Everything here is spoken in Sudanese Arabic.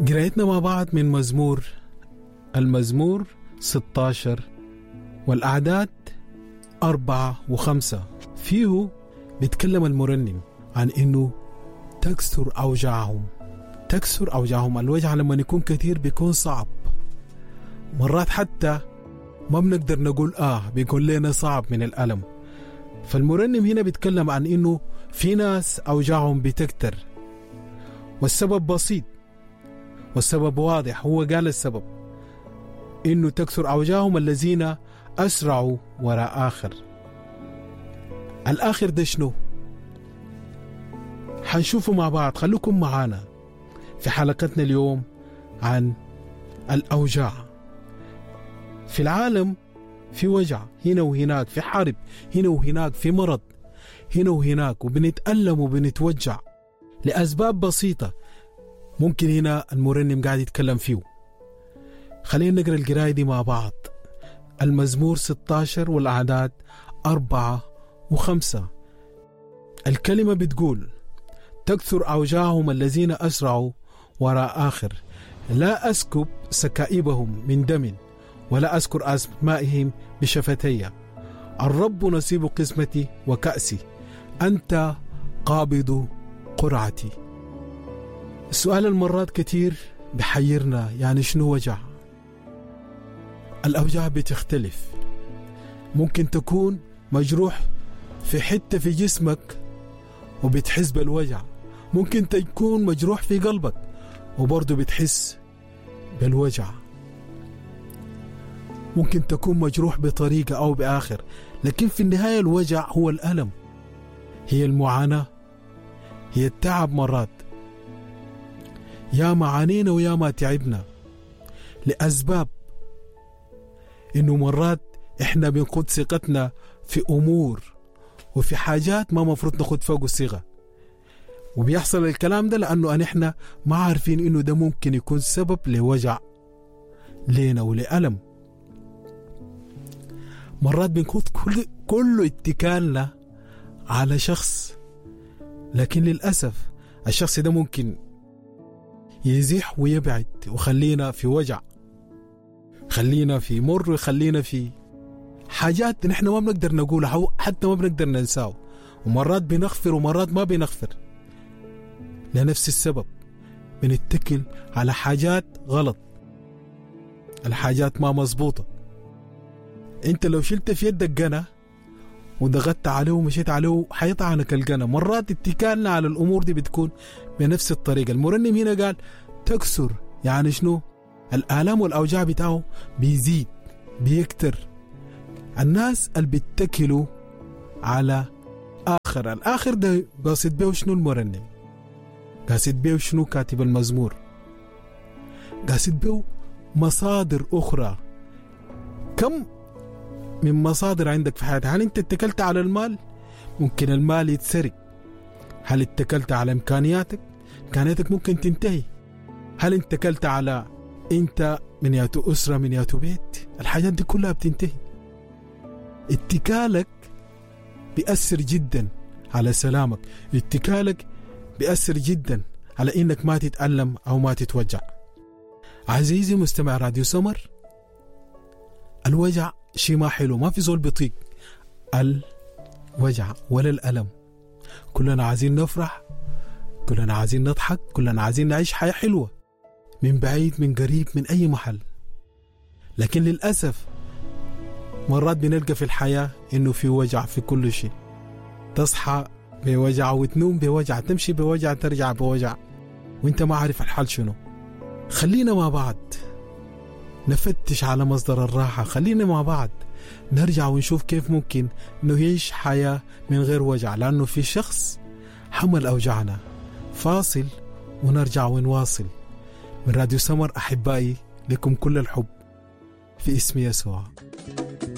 قرايتنا مع بعض من مزمور، المزمور 16 والأعداد 4 و5. فيه بيتكلم المرنم عن إنه تكثر أوجاعهم، تكثر أوجاعهم. الوجع لما يكون كثير بيكون صعب، مرات حتى ما بنقدر نقول بيكون لنا صعب من الألم. فالمرنم هنا بيتكلم عن إنه في ناس أوجاعهم بتكتر، والسبب بسيط والسبب واضح. هو قال السبب إنه تكثر أوجاعهم الذين أسرعوا وراء آخر. الآخر ده شنو؟ حنشوفه مع بعض. خلوكم معانا في حلقتنا اليوم عن الأوجاع. في العالم في وجع هنا وهناك، في حرب هنا وهناك، في مرض هنا وهناك، وبنتألم وبنتوجع لأسباب بسيطة ممكن هنا المرنم قاعد يتكلم فيه. خلينا نقرأ القراية دي مع بعض. المزمور 16 والأعداد 4 و5. الكلمة بتقول: تكثر أوجاعهم الذين أسرعوا وراء آخر، لا أسكب سكائبهم من دم ولا أذكر أسمائهم بشفتي. الرب نصيب قسمتي وكأسي، أنت قابض قرعتي. السؤال المرات كتير بحيرنا، يعني شنو وجع؟ الأوجاع بتختلف. ممكن تكون مجروح في حتة في جسمك وبتحس بالوجع، ممكن تكون مجروح في قلبك وبرضه بتحس بالوجع، ممكن تكون مجروح بطريقة أو بآخر، لكن في النهاية الوجع هو الألم، هي المعاناة، هي التعب. مرات يا ما عانينا ويا ما تعبنا لأسباب إنه مرات إحنا بنقود ثقتنا في أمور وفي حاجات ما مفروض ناخد فوق الثقة، وبيحصل الكلام ده لأنه إحنا ما عارفين إنه ده ممكن يكون سبب لوجع لينا ولألم. مرات بنكون كل اتكالنا على شخص، لكن للأسف الشخص ده ممكن يزيح ويبعد وخلينا في وجع، خلينا في مر، خلينا في حاجات نحن ما بنقدر نقولها، حتى ما بنقدر ننساه. ومرات بنغفر ومرات ما بنغفر لنفس السبب، بنتكل على حاجات غلط، الحاجات ما مظبوطة. انت لو شلت في يدك قنا وضغطت عليه ومشيت عليه حيطعنك القنا. مرات اتكالنا على الأمور دي بتكون بنفس الطريقة. المرنم هنا قال تكسر، يعني شنو؟ الآلام والأوجاع بتاعه بيزيد، بيكتر. الناس اللي بيتكلوا على آخر، الآخر ده قاصد بيه شنو المرنم؟ قاصد بيه شنو كاتب المزمور؟ قاصد بيه مصادر أخرى. كم من مصادر عندك في حياتك؟ هل انت اتكلت على المال؟ ممكن المال يتسرق. هل اتكلت على امكانياتك؟ امكانياتك ممكن تنتهي. هل اتكلت على انت من ياتو اسره، من ياتو بيت؟ الحاجات دي كلها بتنتهي. اتكالك بيأثر جدا على سلامك، اتكالك بيأثر جدا على انك ما تتألم او ما تتوجع. عزيزي مستمع راديو سمر، الوجع شيء ما حلو، ما في زول بيطيق الوجع ولا الألم. كلنا عايزين نفرح، كلنا عايزين نضحك، كلنا عايزين نعيش حياة حلوة من بعيد من قريب من أي محل. لكن للأسف مرات بنلقى في الحياة إنه في وجع في كل شيء. تصحى بوجع وتنوم بوجع، تمشي بوجع، ترجع بوجع، وانت ما عارف الحال شنو. خلينا مع بعض نفتش على مصدر الراحة، خلينا مع بعض نرجع ونشوف كيف ممكن نعيش حياة من غير وجع، لأنه في شخص حمل أوجعنا. فاصل ونرجع ونواصل. من راديو سمر أحبائي، لكم كل الحب في اسم يسوع.